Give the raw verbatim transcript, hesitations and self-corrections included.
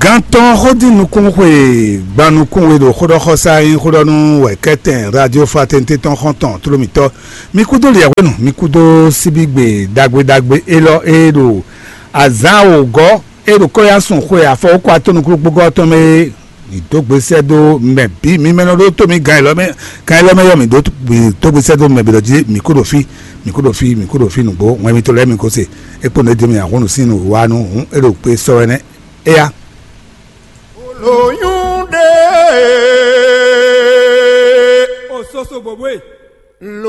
Gantɔn xódin nukún xwe gban nukún we ɖo xóɖɔxɔsá nyí xóɖɔnú wɛ kɛtɛn radio fraternité tɔn xɔntɔn tlómitɔ. Mi kúdó liɛhwenu, mi kúdó síbígbe ɖagbe ɖagbe élɔ́ e ɖo azǎn wǒgɔ́ e ɖo kɔ́yásun xwe afɔwókɔ atɔ́nukúlúkpógɔ́ tɔn mɛ é. Mi dó gbe sɛ́ dó mɛ bǐ, mi mɛ nɔ ɖó tó mi gan élɔ́ mɛ, gan élɔ́ mɛ yɔ mi dó, mi dó gbe sɛ́ dó mɛ bǐ ɖɔ jí mi kú ɖo fí, mi kú ɖo fí, mi kú ɖo fí nǔgbó, wɛn mitɔn lɛ́ɛ mi ko se. É kpó nǔ e dó mi ahɔ́nnu sín nǔ wa nú hǔn é ɖo kpé sɔ́ wɛ nɛ́. Éya. Olóyún ɖe. O soso bòbó e.